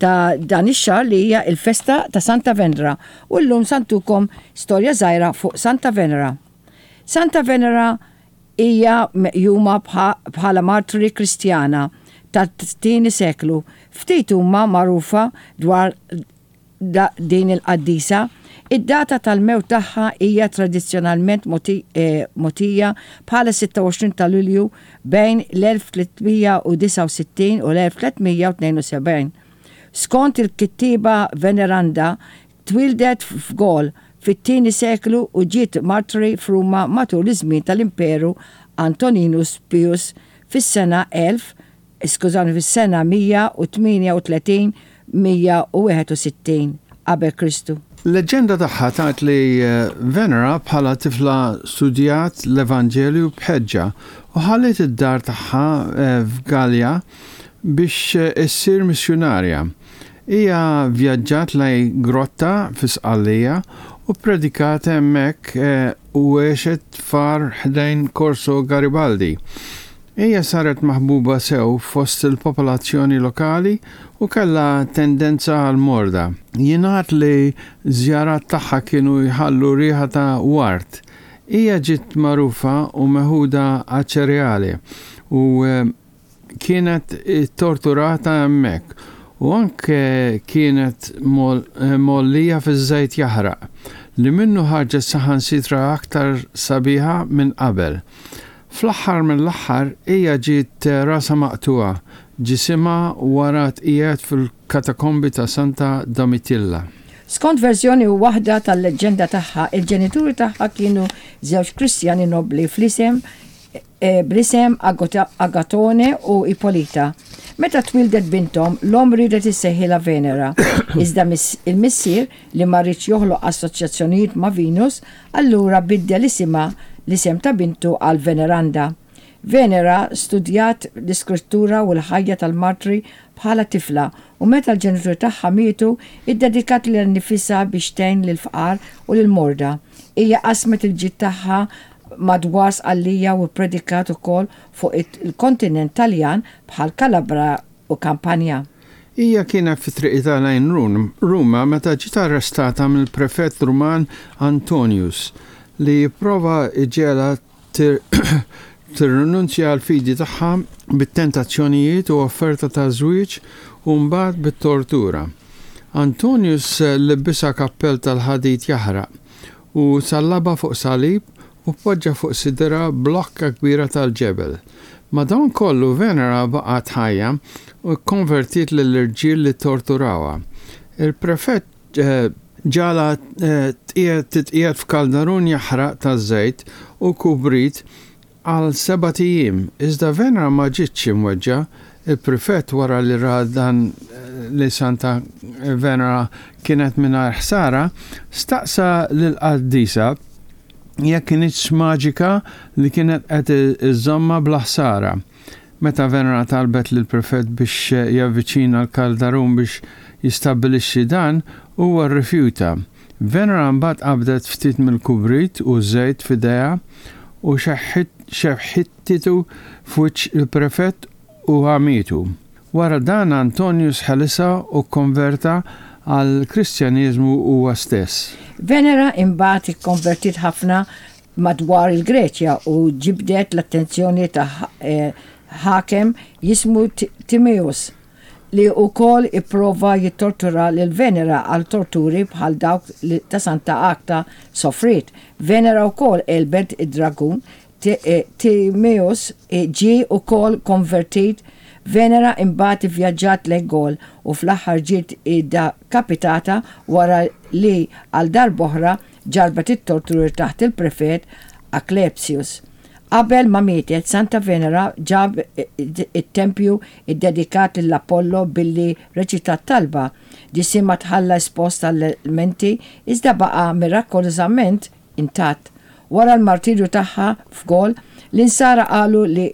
ta' dan ix-xahar li hija l-festa ta' Santa Venera u llum sa ntukom storja żgħira fuq Santa Venera. Santa Venera hija meqjuma bħala martri Kristjana tat-tieni seklu. Ftit huma magħrufa dwar din il-qaddisa. Id-data tal-mewt tagħha hija tradizzjonalment mogħtija bħala 26 ta' Lulju bejn l-1369 u l-1372. Skont il-kittieba Veneranda, twieldet f'Gaul fit-tieni seklu u ġiet martri f'Ruma matul iż-żmien tal-Imperu Antoninus Pius fis-sena 1000 skużawni, fis-sena 138 161 qabel Kristu. Leġġenda tagħha tgħid li Venera bħala tifla studjat l-Evanġelju b'ħeġġa u ħalliet id-dar tagħha f'Galja biex issir missjunarja. Hija vvjaġġat lejn grotta fi Sqallija u ppredikat hemmhekk u għexet f'għar ħdejn Corso Garibaldi. Hija saret maħbuba sew fost il-popolazzjoni lokali u kellha tendenza għall-morda. Jingħad li ż-żjarat tagħha kienu jħallu riħa ta' ward. Hija ġiet magħrufa u meħuda għaċ-ċereali u kienet ittorturata hemmhekk u anke kienet mgħollija fiż-żejt jaħraq, li minnu ħarġet saħansitra aktar sabiħa minn qabel. Fl-aħħar mill-aħħar hija ġiet rasha maqtugħa, ġisimha wara tqiegħed fil-katakombi ta' Santa Domitilla. Skont verżjoni waħda tal-leġġenda tagħha, il-ġenituri tagħha kienu żewġ Kristjani nobbli fl-isem bl-isem Agatone u Ippolita. Meta twieldet binthom, l-omm riedet issejħilha Venera, iżda il-missier, li ma riedx joħloq assoċjazzjonijiet ma' Venus, allura biddel isimha l-isem ta' bintu għal Veneranda. Venera studjat l-Iskrittura u l-ħajja tal-martri bħala tifla u meta l-ġenituri tagħha mietu, iddedikat lilha nnifisha biex tgħin lill-fqar u lill-morda. Hija qasmet il-ġid tagħha madwar Sqallija u ppredikat ukoll fuq il-kontinent Taljan bħal Calabra u Campania. Hija kienet fi triqitha lejn Ruma meta ġiet arrestata mill-prefett Ruman Antonius, li pprova jġegħelha tirrinunzja għall-fidi tagħha bit-tentazzjonijiet u offerta ta' żwieġ u mbagħad bit-tortura. Antonius libbisha kappell tal-ħadid jaħraq u sallabha fuq salib u poġġa fuq sidirha blokka kbira tal-ġebel. Madankollu, Venera baqgħet ħajja u kkonvertiet lill-irġiel li ttorturawha. Il-prefett ġagħalha titqiegħed f'kaldarun jaħraq taż-żejt u kubrit għal sebat ijiem, iżda Venera ma ġietx imweġġa'. Il-prefett, wara li ra dan li Santa Venera kienet mingħajr ħsara, staqsa lill-qaddisa jekk kinitx maġika li kienet qed iżżommha bla ħsara. Meta Venera talbet lill-prefett biex javviċina l-kaldarun biex jistabbilixxi dan, huwa rrifjuta. Venera mbagħad qabdet ftit mill-kubrit u ż-żejt f'idejha u xeħħtitu f'wiċċ il-prefett u għamietu. Wara dan Antonius ħelisha u kkonverta għall-Kristjaneżmu huwa stess. Venera imbagħad ikkonvertiet ħafna madwar il-Greċja u ġibdet l-attenzjoni ta' ħakem jismu Timaeus, li wkoll ipprova jittortura lil Venera għal torturi bħal dawk li ta' Santa Agta sofriet. Venera wkoll għelbet id-dragun Timaeus ġie wkoll konvertit. Venera imbagħad ivvjaġġat lejn Gaul u fl-aħħar ġiet iddekapitata wara li għal darb'oħra ġarrbet it-torturi taħt il-prefett Asclepius. Qabel ma mietet, Santa Venera ġab it-tempju ddedikat lil Apollo billi reċitat talba. Ġisimha tħalla espost għall-elementi iżda baqa' mirakolożament intatt. Wara l-martirju tagħha f'Gaul, l-Insara qalu li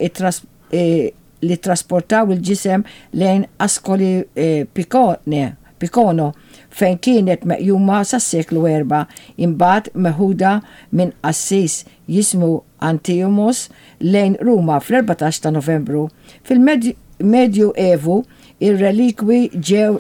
li ttrasportaw il-ġisem lejn Ascoli Picone, Picono, fejn kienet meqjuma sas-seklu erbgħa, imbagħad meħuda minn qassis jismu Anthimus lejn Ruma fl-14 ta' Novembru. Fil-Medju Evu, ir-relikwi ġew.